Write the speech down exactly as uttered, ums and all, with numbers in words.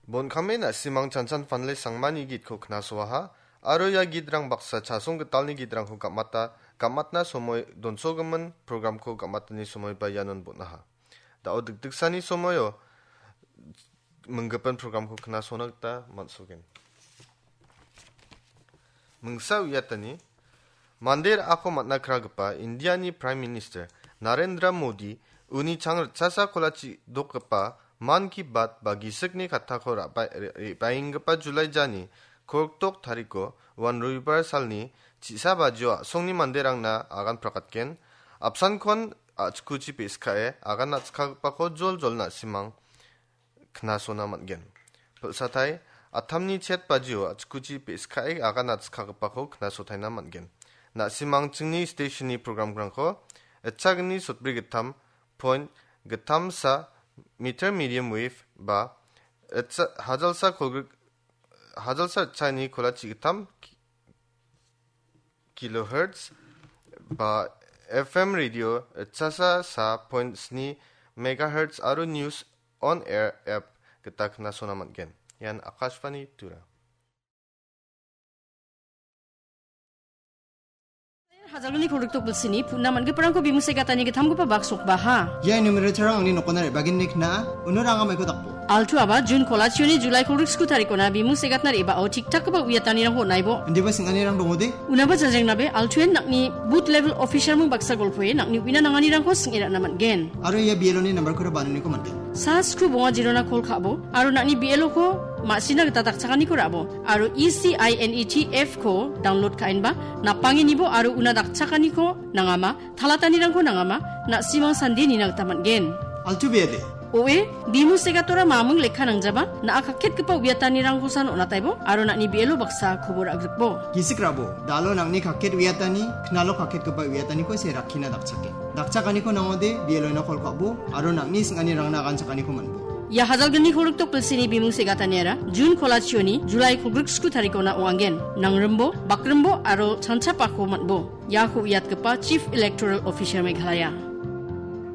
Bon kame na·simang chanchan fanle sangmani gitko knasoaha, aro ia gitrang baksa chasong gitalni gitrangko gamata, gamatna somoi donsogimin programko gamatani somoi ba ianon bon·aha. Da·o dikdiksani somoio minggipin programko knasona gita man·sogen. Mingsa uiatani, mande ra·ako man·a kragipa Indiani Prime Minister Narendra Modi uni chang ritchasa kolachi dokgipa Mann Ki Baat ba gisikni kattako ra·bai-, re-, re-, re·baenggipa Julai jani kolgrik tariko uan Robibar salni chisa bajio a·songni manderangna agan prakatgen, apsankon a·chikuchi pe·skae agan a·chikagipako joljol na·simang knasona man·gen. Pilsatai, atamni chet bajio a·chikuchi pe·skae agan a·chikagipako knasotaina man·gen. Na·simangchingni stationni programrangko itchagni sotbri gittam point gittamsa meter medium wave ba itcha-, hajalsa kolgrik-, hajalsa itchani kolachi gittam kilohertz ba F M radio chasa sa point sni megahertz aro news on air app gita knasona man·gen. Ian Akashvani Tura. Hajalgni kolgrik tok bilsini puna man·giparangko bimung se gatani gittamgipa baksokbaha. Ia numerator-rang angni nokona re·bagenni kna·a, uno ranga maiko dakbo. Altu aba Jun kolachioni Julai kolgrik sku tarikona bimung se gatna re·bao tik-takgipa uiatanirangko on·aibo. Indiba sing·anirang dongode? Unaba jajengnabe Altuen nang·ni booth level officer-mung baksa golpoe nang·ni uina nanganirangko sing·e ra·na man·gen. Aro ia B L O-ni nambarkora banoniko man·gen. Sa sku bonga jirona kol ka·bo, aro nang·ni B L O-ko ma·sina gita dakchakaniko ra·bo, aro E C I N E T F-ko download ka·enba, napangenibo aro una dakchakaniko nangama, talatanirangko nangama, na·simang sande nina gita man·gen. Altu bede. Oe, bimung segatora mamung lekka nangjaba, na·a kaketgipa uiatanirangkosan on·ataibo, aro nang·ni B L O baksa kobo ra·grikbo. Gisik rabo, dalo nang·ni kaket uiatani, knalo kaketgipa uiataniko se rakkina dakchake. Dakchakaniko nangode, B L O-ina kol ka·bo, aro nang·ni sing·anirangna aganchakaniko man·bo. Ia hajalgni kolgrik tok bilsini bimung segataniara, Jun kolachioni, Julai kolgrik sku tarikona ong·angen. Nangrimbo, bakrimbo, aro chanchapako man·bo. Iako uiatgipa Chief Electoral Officer Meghalaya.